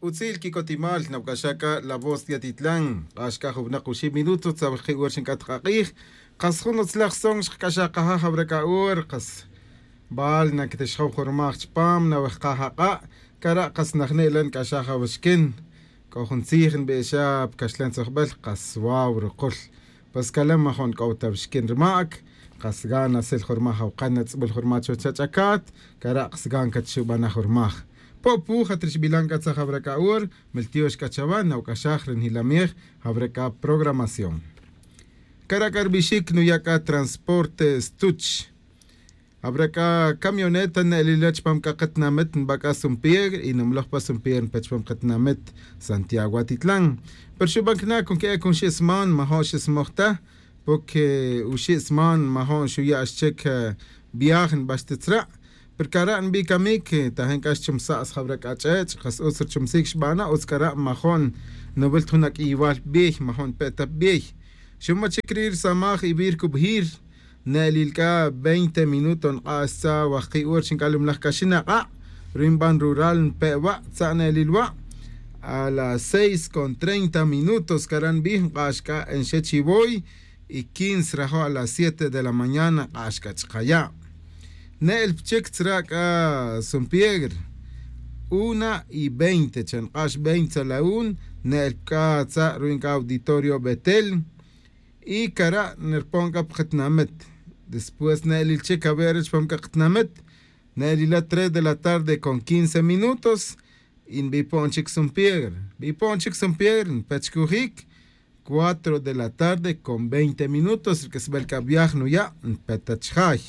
Utzil kikotimal nawk'axaka La Voz de Atitlán q'axka juwnaq oxib' minutos tzawalqi uur xink'at qaq'iij qas jun utzlaj son xqk'axaqaja jawrak'a'uur qas baal nakatixjaw jurmaj chpam nawejqaj aq'a' kara' qas najne'la nk'axaj awixkin k'o jun tziij nb'i'xa pkaxlan tzijb'al qas waw ruqul pues kalam majon k'o tawixkin rma'k qas ganas el jurmaj awqan natz'b'ul jurmaj chuwach ach'akaat kara' qas gan katxub'anaj jurmaj Po'puj atrixb'ilan k'a tzaj jawrak'a'uur meltiox k'a chawa nawk'axaj rinjilamij jawrak'a programación. Karak'a rb'ixik nuyak'a transporte stuch. Habrá camioneta ne'lila chpam k'a qatnamit nb'ak'a Sumpier y numloj pa Sumpier npechpam qatnamit Santiago Atitlán. Pero xub'ankna kun ke'e kun xisman majon xismojta porque uxisman majon xuya' xchek viaje nb'axtitzra' pero kara' nb'i kamik tajen k'ax chumsa'as jawrak'a ch'ech' qas utz richumsik xb'ana utz kara' majon nuwilt jun ak'iwal b'iy majon pe'tap b'iy xuma chik rir samaj ib'ir kub'jir ne'lilk'a 20 minutos nq'axtza wajqi uur xink'al umlaj kaxin aq'a' rinb'an rural npe'wa' tza ne'lilwa' a las 6:30 minutos karan b'ij nq'axk'a en Xechiboy y 15 rajo a las 7 de la mañana nq'axk'a chqaya' ne'l pchik tzrak'a Sumpiegr 1:20 chanq'ax 20 a la un ne'l pk'a tza ruinka auditorio Betel y kara' nirponka pqatnamit después ne'lil chik a ver chpam qatnamit ne'lila 3 de la tarde con 15 minutos y nb'ipon chik Sumpiegr b'ipon chik Sumpiegr npechkujik 4 de la tarde con 20 minutos rk'isb'al k'a viaje nuya' npetachjay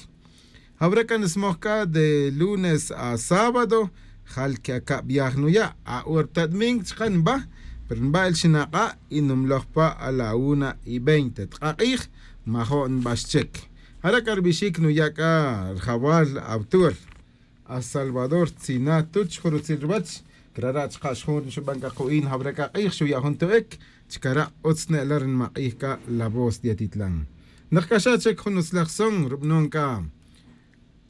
Habrá que nismojka de lunes a sábado jal ke aka viaje nuya' a urtadmink chqan nb'a pero nb'a el xinaqa' y numlojpa a la 1:20 tqaq'iij majon nb'axchek Hara k'arb'ixik nuyak'a rjawal autur a Salvador Tzina tuch jurutzil rwach krara' chqa' xjun xub'an k'aqu'in habrá k'aq'iij xuya' jun tu'ek chkara' utz ne'la rinmaq'iij k'a La Voz de Atitlán naqk'axa chek jun utzlaj son rub'non k'a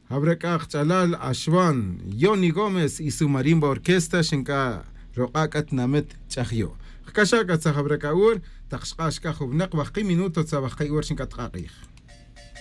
habrá k'aq ch'alal Axwan Johnny Gómez y su marimba orquesta xink'a roq'a k'atnamit ch'ajyo' qk'axa k'a tzaj habrá k'a'uur taq xq'ax k'a juwnaq wajqi minuto tzawajqi uur xink'a tqaq'iij.